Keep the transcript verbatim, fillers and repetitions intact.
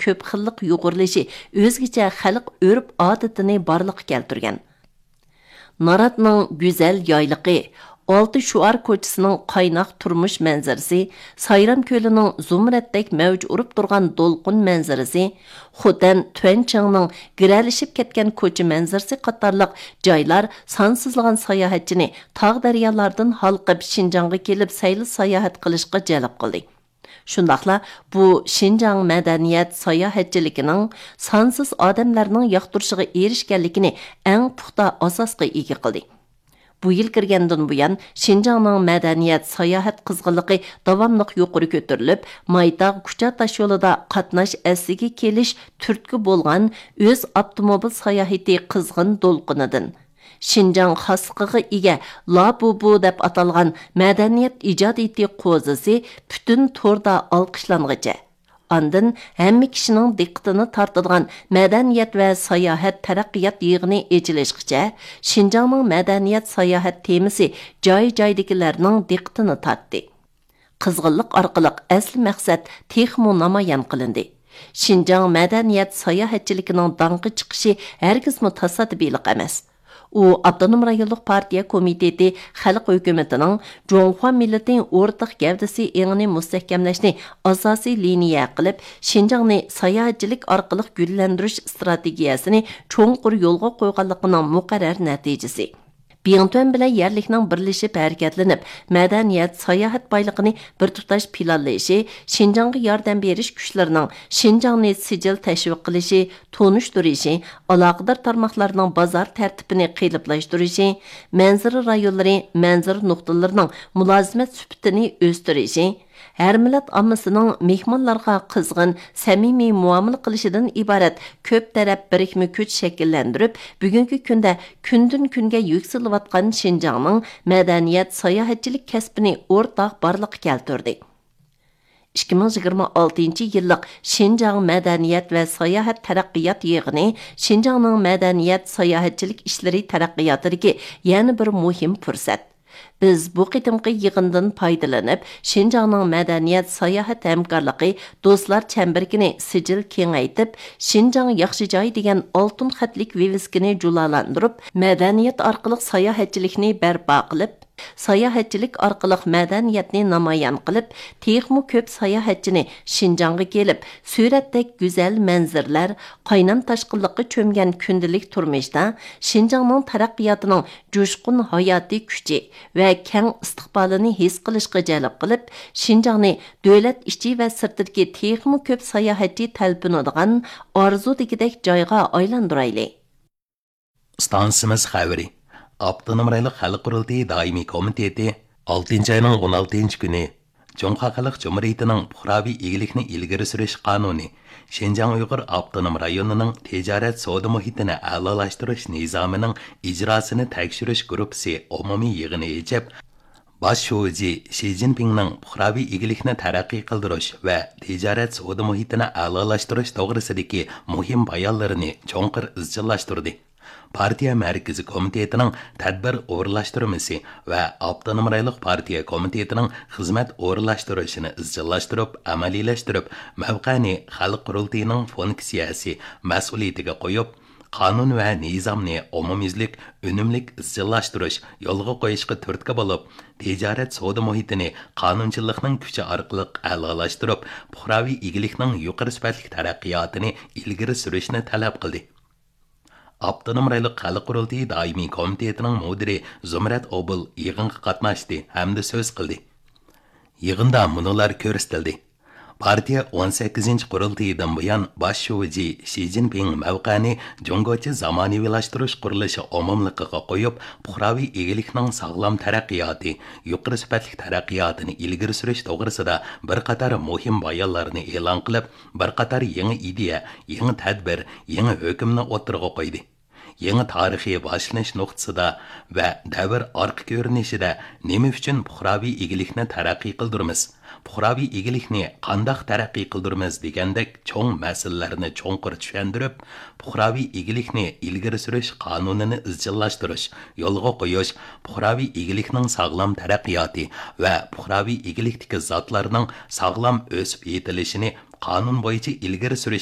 كۆپ خىللىق يۇغۇرۇلۇشى ئۆزگىچە خەلق ئۆرپ-ئادىتىنى بارلىققا كەلتۈرگەن. ناراتنىڭ گۈزەل يايلىقى، ئالتە شوئار كوچىسىنىڭ قايناق تۇرمۇش مەنزىرىسى، سايرام كۆلىنىڭ زۇمرەتتەك مەۋج ئۇرۇپ تۇرغان دولقۇن مەنزىرىسى، خوتەن تۈەنچىڭنىڭ گىرەلىشىپ كەتكەن كوچا مەنزىرىسى قاتارلىق جايلار سانسىزلىغان ساياھەتچىنى تاغ-دەريالاردىن ھالقىپ شىنجاڭغا كېلىپ سەيلە-ساياھەت قىلىشقا جەلپ قىلدى. شۇنداقلا بۇ شىنجاڭ مەدەنىيەت ساياھەتچىلىكىنىڭ سانسىز ئادەملەرنىڭ ياقتۇرۇشىغا ئېرىشكەنلىكىنى ئەڭ پۇختا ئاساسقا ئىگە قىلدى. بۇ يىل كىرگەندىن بۇيان، شىنجاڭنىڭ مەدەنىيەت ساياھەت قىزغىنلىقى داۋاملىق يۇقىرى كۆتۈرۈلۈپ، مايتاغ كۇچا تاشيولىدا قاتناش ئەسلىگە كېلىش تۈرتكە بولغان ئۆز ئاپتوموبىل ساياھىتى قىزغىن دولقۇنىدىن، شىنجاڭ خاسلىقىغا ئىگە لابۇبۇ دەپ ئاتالغان مەدەنىيەت ئىجادىيىتى قوزىسى پۈتۈن توردا ئالقىشلانغىچە، ئاندىن ھەممە كىشىنىڭ دىققىتىنى تارتىدىغان مەدەنىيەت ۋە ساياھەت تەرەققىيات يىغىنى ئېچىلىشقىچە، شىنجاڭنىڭ مەدەنىيەت ساياھەت تېمىسى جاي-جايدىكىلەرنىڭ دىققىتىنى تارتتى. قىزغىنلىق ئارقىلىق ئەسلى مەقسەت تېخىمۇ نامايان قىلىندى. شىنجاڭ مەدەنىيەت ساياھەتچىلىكىنىڭ داڭقى چىقىشى ھەرگىزمۇ تاسادىپىيلىق ئەمەس. ئۇ ئاپتونوم رايونلۇق پارتىيە كومىتېتى خەلق ھۆكۈمىتىنىڭ جۇڭخۇا مىللىتى ئورتاق گەۋدىسى ئېڭىنى مۇستەھكەملەشنى ئاساسىي لىنىيە قىلىپ، شىنجاڭنى ساياھەتچىلىك ئارقىلىق گۈللەندۈرۈش ئىستراتېگىيەسىنى چوڭقۇر يولغا قويغانلىقىنىڭ مۇقەررەر نەتىجىسى. بىڭتۈەن بىلەن يەرلىكنىڭ بىرلىشىپ ھەرىكەتلىنىپ، مەدەنىيەت، ساياھەت بايلىقىنى بىر تۇتاش پىلانلىشى، شىنجاڭغا ياردەم بېرىش كۈچلىرىنىڭ شىنجاڭنى سىجىل تەشۋىق قىلىشى، تونۇشتۇرۇشى، ئالاقىدار تارماقلارنىڭ بازار تەرتىپىنى قېلىپلاشتۇرۇشى، مەنزىرە رايونلىرى مەنزىرە نۇقتىلىرىنىڭ مۇلازىمەت سۈپىتىنى ئۆستۈرۈشى، ھەر مىللەت ئاممىسىنىڭ مېھمانلارغا قىزغىن، سەمىمىي مۇئامىلە قىلىشىدىن ئىبارەت كۆپ تەرەپ بىرىكمە كۈچ شەكىللەندۈرۈپ، بۈگۈنكى كۈندە كۈندىن-كۈنگە يۈكسىلىۋاتقان شىنجاڭنىڭ مەدەنىيەت، ساياھەتچىلىك كەسپىنى ئورتاق بارلىققا كەلتۈردى. ئىككى مىڭ يىگىرمە ئالتىنچى يىللىق شىنجاڭ مەدەنىيەت ۋە ساياھەت تەرەققىيات يىغىنى شىنجاڭنىڭ مەدەنىيەت، ساياھەتچىلىك ئىشلىرى تەرەققىياتىدىكى يەنە بىر مۇھىم پۇرسەت. بىز بۇ قېتىمقى يىغىندىن پايدىلىنىپ، شىنجاڭنىڭ مەدەنىيەت، ساياھەت ھەمكارلىقى دوستلار چەمبىرىكىنى سىجىل كېڭەيتىپ، شىنجاڭ ياخشى جاي دېگەن ئالتۇن خەتلىك ۋىۋىسكىنى جۇلالاندۇرۇپ، مەدەنىيەت ئارقىلىق ساياھەتچىلىكنى بەرپا قىلىپ، ساياھەتچىلىك ئارقىلىق مەدەنىيەتنى نامايان قىلىپ، تېخىمۇ كۆپ ساياھەتچىنى شىنجاڭغا كېلىپ، سۈرەتتەك گۈزەل مەنزىرىلەر، قاينام تاشقىنلىققا چۆمگەن كۈندىلىك تۇرمۇشتا شىنجاڭنىڭ تەرەققىياتىنىڭ جۇشقۇن ھاياتىي كۈچى ۋە كەڭ ئىستىقبالىنى ھېس قىلىشقا جەلپ قىلىپ، شىنجاڭنى دۆلەت ئىچى ۋە سىرتىدىكى تېخىمۇ كۆپ ساياھەتچى تەلپۈنىدىغان ئارزۇدىكىدەك جايغا ئايلاندۇرايلى. ئىستانسىمىز خەۋىرى. ئاپتونوم رايونلۇق خەلق قۇرۇلتىيى دائىمىي كومىتېتى ئالتىنچى ئاينىڭ ئون ئالتىنچى كۈنى جۇڭخۇا خەلق جۇمھۇرىيىتىنىڭ پۇقراۋى ئىگىلىكنى ئىلگىرى سۈرۈش قانۇنى، شىنجاڭ ئۇيغۇر ئاپتونوم رايونىنىڭ تىجارەت سودا مۇھىتىنى ئەلالاشتۇرۇش نىزامىنىڭ ئىجراسىنى تەكشۈرۈش گۇرۇپپىسى ئومۇمىي يىغىنى ئېچىپ، باش شۇجى شى جىنپىڭنىڭ پۇقراۋى ئىگىلىكنى تەرەققىي قىلدۇرۇش ۋە تىجارەت سودا مۇھىتىنى ئەلالاشتۇرۇش توغرىسىدىكى مۇھىم بايانلىرىنى چوڭقۇر ئىزچىللاشتۇردى. پارتىيە مەركىزىي كومىتېتىنىڭ تەدبىر ئورۇنلاشتۇرمىسى ۋە ئاپتونوم رايونلۇق پارتىيە كومىتېتىنىڭ خىزمەت ئورۇنلاشتۇرۇشىنى ئىزچىللاشتۇرۇپ، ئەمەلىيلەشتۈرۈپ، مەۋقەنى خەلق قۇرۇلتىيىنىڭ فۇنكسىيەسى، مەسئۇلىيىتىگە قويۇپ، قانۇن ۋە نىزامنى ئومۇميۈزلۈك، ئۈنۈملۈك ئىزچىللاشتۇرۇش، يولغا قويۇشقا تۈرتكە بولۇپ، تىجارەت سودا مۇھىتىنى قانۇنچىلىقنىڭ كۈچى ئارقىلىق ئەلالاشتۇرۇپ، پۇقراۋى ئىگىلىكنىڭ يۇقىرى سۈپەتلىك تەرەققىياتىنى ئىلگىرى سۈرۈشنى تەلەپ قىلدى. ئاپتونوم رايونلۇق خەلق قۇرۇلتىيى دائىمىي كومىتېتىنىڭ مۇدىرى زۇمرەت ئوبۇل يىغىنغا قاتناشتى ھەمدە سۆز قىلدى. يىغىندا مۇنۇلار كۆرسىتىلدى. پارتىيە ئون سەككىزىنچى قۇرۇلتىيىدىن بۇيان باش شۇجى شى جىنپىڭ مەۋقەنى جۇڭگوچە زامانىۋىلاشتۇرۇش قۇرۇلۇشى ئومۇملۇقىغا قويۇپ، پۇقراۋى ئىگىلىكنىڭ ساغلام تەرەققىياتى، يۇقىرى سۈپەتلىك تەرەققىياتىنى ئىلگىرى سۈرۈش توغرىسىدا بىر قاتار مۇھىم بايانلارنى ئېلان قىلىپ، بىر قاتار يېڭى ئىدىيە، يېڭى تەدبىر، يېڭى ھۆكۈمنى ئوتتۇرىغا قويدى. يېڭى تارىخىي باشلىنىش نۇقتىسىدا ۋە دەۋر ئارقا كۆرۈنۈشىدە نېمە ئۈچۈن پۇقراۋى ئىگىلىكنى تەرەققىي قىلدۇرىمىز، پۇقراۋى ئىگىلىكنى قانداق تەرەققىي قىلدۇرىمىز دېگەندەك چوڭ مەسىلىلەرنى چوڭقۇر چۈشەندۈرۈپ، پۇقراۋى ئىگىلىكنى ئىلگىرى سۈرۈش قانۇنىنى ئىزچىللاشتۇرۇش، يولغا قويۇش، پۇقراۋى ئىگىلىكنىڭ ساغلام تەرەققىياتى ۋە پۇقراۋى ئىگىلىكتىكى زاتلارنىڭ ساغلام ئۆسۈپ يېتىلىشىنى قانۇن بويىچە ئىلگىرى سۈرۈش